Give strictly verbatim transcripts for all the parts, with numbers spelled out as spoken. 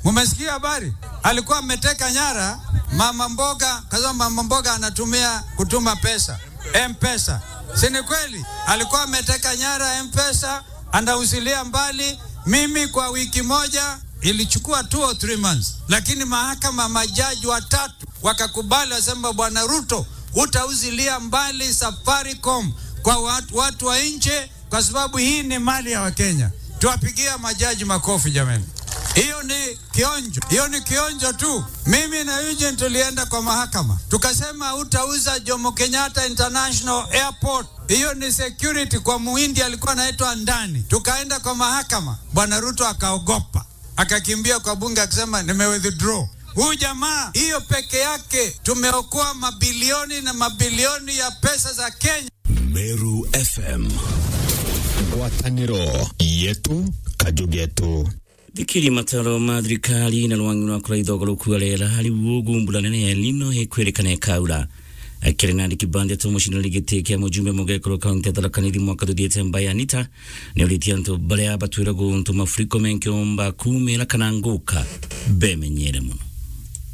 Mumesikia habari? Alikuwa ameteka nyara mama mboga, kwa sababu mama mboga anatumia kutuma pesa, M-Pesa. Si ni kweli? Alikuwa ameteka nyara M-Pesa, anauzilia mbali. Mimi kwa wiki moja, ilichukua two or three months, lakini mahakama, majaji watatu wakakubali, wasema, "Bwana Ruto, utauzilia mbali Safaricom kwa watu, watu wa nje, kwa sababu hii ni mali ya Wakenya." Tuwapigia majaji makofi, jamani. Hiyo ni kionjo, hiyo ni kionjo tu. Mimi na Eugene tulienda kwa mahakama, tukasema, "Utauza Jomo Kenyatta International Airport, hiyo ni security kwa muhindi alikuwa anaitwa Ndani." Tukaenda kwa mahakama, Bwana Ruto akaogopa, akakimbia kwa bunge akisema, "Nime withdraw." Huyu jamaa, hiyo peke yake tumeokoa mabilioni na mabilioni ya pesa za Kenya. Meru F M. Ngwataniro yetu, kaju getu. Thikiri mataro ma thirikari na rwangi rwa kuraitha ugaruku wa riera, riu ugu mbura nene ya El Nino ikwirikana ikaura. Akiri na Ricky Bandia tu mucindani giti kia mujumbe mugekuru kaunti ya Tharaka Nithi mwaka tuthiite, Mbai Anita, ni uritie antu baria batwire guntu mafuriko menkiumba kumira kana nguka bemenyere mono.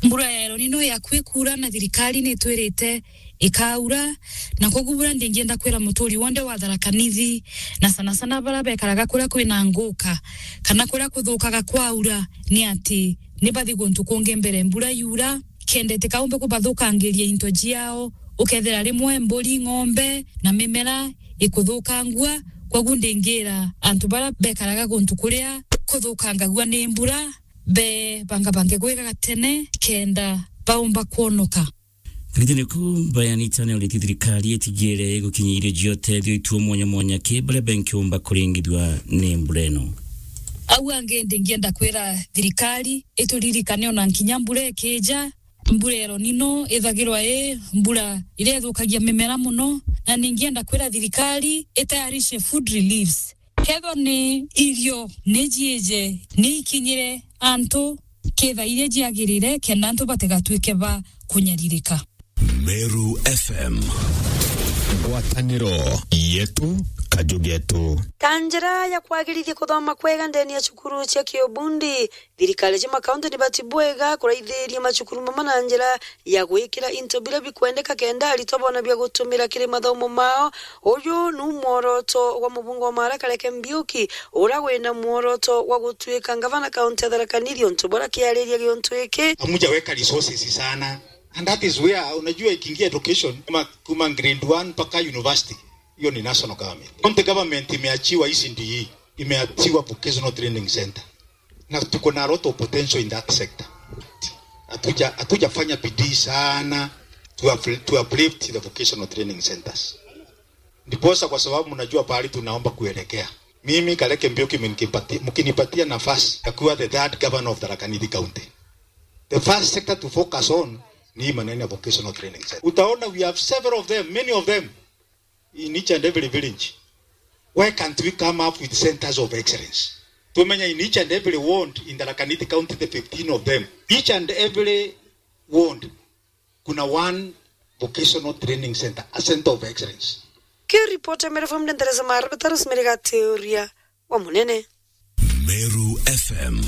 Mbura ya El Nino yakwi kuura na thirikari ni itwirite ikaura, na koguo bura ndingienda kwira muturi wonthe wa Tharaka Nithi, na sana sana baria bekaraga kuria kwina nguka kana kuria kuthukaga kwaura, ni ati ni bathi guntu kungi mbere mbura yura, kenda itikaumbe kubathukangiria into ciao, ukethira rimwe mburi, ng'ombe na mimera ikuthukangua. Koguo ndingira antu baria bekaraga guntu kuria kuthukangagua ni mbura, be bangabange gwika gatene kenda baumba kwonoka. Thirikari ku Mbai Anita ni uritie thirikari itigire gukinyia irio cia utethio ituo mwanya mwanya ki baria benkiumba kuringithua ni mbura ino. Au angi ndingienda kwira thirikari ituririkane ona nkinya mbura ikija. Mbura ya El Nino ithagirwa i mbura iria ithukagia mimera mono, na ningienda kwira thirikari itayarishe food reliefs. Kethwa ni irio ni ciije, ni ikinyire antu kitha iria ciagirire, kenda antu batigatwike ba kunyaririka. Meru F M. Ngwataniro yetu, kaju getu. Ta njira ya kwagirithia kuthoma kwega ndene ya cukuru cia kiubundi, thirikari cia makaunti ni bati bwega kuraithiria macukuru mama na njira ya gwikira into biria bikwendeka kenda aritwa bona bia gutumira kiri mathomo mao. Uyu nu mworoto wa mubunge wa Maara Kareke Mbiuki, uria wina mworoto wa gutuika ngavana kaunti ya Tharaka Nithi, untu buria kiariria giuntu giki. Hamujaweka resources sana. And that is where, unajua, ikiingia education, kuma, kuma grade one mpaka university, hiyo ni national government. County government imeachiwa E C D E, imeachiwa vocational training center. Na tuko na a lot of potential in that sector. Hatuja, hatujafanya bidii sana to up-, to uplift the vocational training centers. Ndiposa, kwa sababu mnajua pahali tunaomba kuelekea. Mimi, Kareke Mbiuki, mkinipati-, mkinipatia nafasi ya kuwa the third governor of Tharaka Nithi County, the first sector to focus on ni hii maneno ya vocational training center. Utaona we have several of them, many of them in each and every village. Why can't we come up with centers of excellence? Tumenya in each and every ward in Tharaka Nithi County, the fifteen of them, each and every ward kuna one vocational training center, a center of excellence. Ki ripoti ya Meru F M ndendereza mara betaro simeriga teoria wa munene. Meru F M.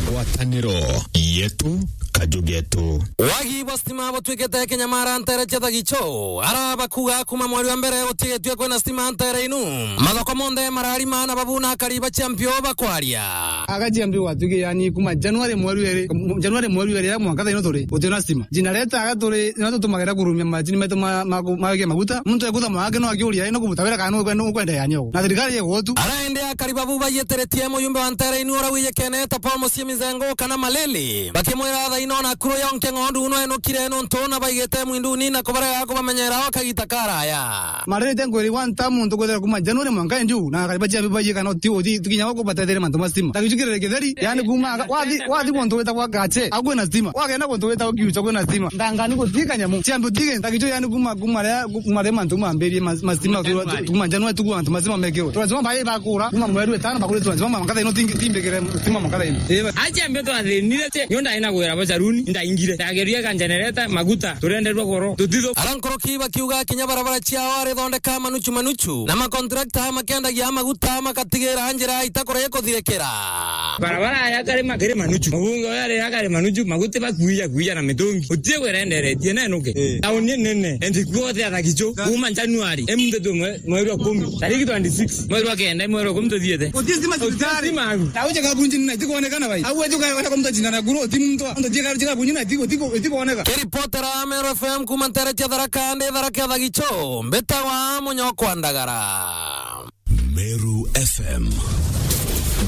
Ngwataniro yetu, kaju getu. Wagi bwa stima butwikite kinyamara ntere cia Thagicho. Ara bakuga kuma mweri wa mbere gutigitue kwina stima ntere inu. Mathoko monthe mararima na babu na akari ba Champion bakwaria. Aga Champion gwatuike yani kuma January mweri eri, January mweri eri mwanka thaino turi, gutina stima. Generator aga turi, nio tutumagira kurumia macini metu ma, ma, ma, ma maguta. Muntu ekutha mwaka no akiuria, "Ino kubuta wira kana nukwenda, nukwenda yani ogo?" Na thirikari igutu. Ara indi akari babu baiyitiritie muyumbe wa ntere inu ura wijikene ta Paul Mucii Mizengo kana Malili. Bakimwira thaino na kuru yonke ng'ondu no enukire nuntu na baigite mwinduni na kubarega kubamenyera o kagita karaya. Marerete nkwiri one term muntu kwethira kuma January mwanka nju, na akari ba Champion baiyikana uti, uti, tukinya guku batethere mantu ma stima. Thagicho kirere kitheri, yani kuma aga-, wathi, wathi guntu witagwa Gache, akwina stima. Wagenda guntu witagwa Kiucha, kwina stima. Ndangani gutika nyamu. Champion tige, Thagicho yani kuma, kuma ria, kuma ria mantu mambirie ma, ma stima, kuma January tuku antu ma stima mekirwe. Turazima bai bakura, kuma mweri wetano bakuri turazima mwanka thaino tingi, timbikire stima mwanka thaino. Acha mbe twathinire che, nyonda ina gwira bo Aruni, ndaingire. Ndageria ga generator, maguta, turenderwa goro. Tutitho. Ara nkoroki bakiuga kinya barabara ciao arithondeka manuchu manuchu. Na makontrakta makendagia maguta makatigira njira itakora ikuthirikira. Barabara ya kare makere manuchu. Mabunge oya re ya kare manuchu, maguti bakuia kuia na mitungi. Utie gwerenderetie nenuke. Eh. Tauni nene. Endi kuothe athaki cho. Kuma January. Emuthe tu mwe. Mweri wa kumi, tariki twenty-six, mweri wa kenda, mweri wa kumi tuthiete. Uti stima cibitari. Uti stima agu. Na uje kabunji nina, itikuonekana bai. Au uje ukaona kwa mtu ajina na guru, uti mtu, mtu jika, jika bunji na, itiko, itiko, itikuoneka. Kiripotera Meru F M kuma ntere cia Tharaka, ndi Tharaka Thagicho, mbetawa Munyokwa Ndagara. Meru F M.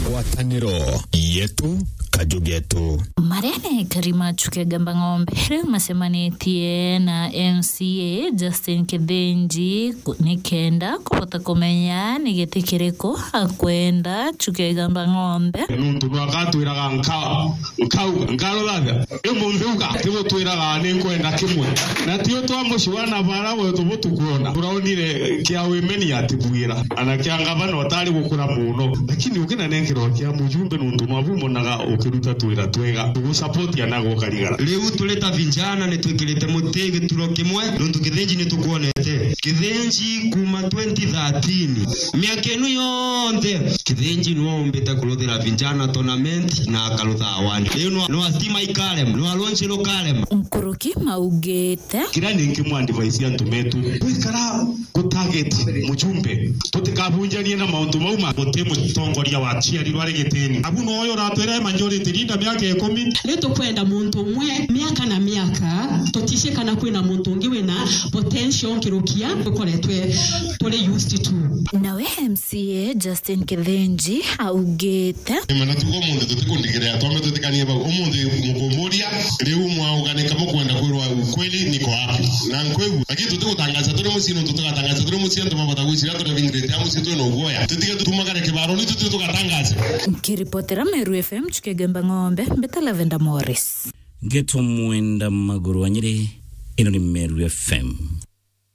Ngwataniro yetu, kaju getu. Maria ni ekari ma Chuka Igamba Ng'ombe riu macemanitie na M C A Justin Kithinji ku-, nikenda kubota kumenya ni giti kiriku akwenda Chuka Igamba Ng'ombe. Nuntu nwagatwiraga nka-, nkauga, nkaruthathia, imunthi uga, tigutwiraga ni nkwenda kimwe. Na tio twamucua na bara wetu butukwona. Turaonire kia wimeni atibwira. Ana kia ngavana utari gukura muno. Lakini ukinanenkerwa kia mujumbe nuntu nwabu monaga ukiruta twira twega. Tugusupport anaga ukarigara. Riu turi ta vijana ni twikirite muti gituro kimwe, nuntu Kithinji ni tukwonete. Kithinji kuma twenty thirteen. Miaka inu yonthe, Kithinji nwe umbite kuruthira vijana tournament na akarutha award. Riu nwa, nwa stima ikarem, nwa launch rukarem. Nkuruki maugite. Kiria ninki mwa advice antu metu. Gwikara ku target mujumbe. Tutikabunjanie na mauntu mau ma guti mutongoria wa ciarirwe ari gitini. Abu noyo uratwira majority leader miaka ikumi. Ni tukwenda muntu umwe miaka na miaka, tutishie kana kwina muntu ungi wina potential nkirukia tukoretwe turi used to. Nawe M C A Justin Kithinji augite. Ni mana tugo muntu tutikundigiria twambe tutikanie bau. Umunthi mukumburia, riu mwauganika mukwenda kwirwa ukweli niko wapi? Na nkwigua. Lakini tutigutangaza turi mucii nuntu tugatangaza turi mucii antu babata gwiciria turi bingirite a mucii twina uguoya. Tutige tutumagare kibaro ni tutue tugatangaza. Nkiripotera Meru F M Chuka Igamba Ng'ombe, mbita Lavender Morris. Ngetwa Mwenda Maguru wa Nyeri, ino ni Meru F M.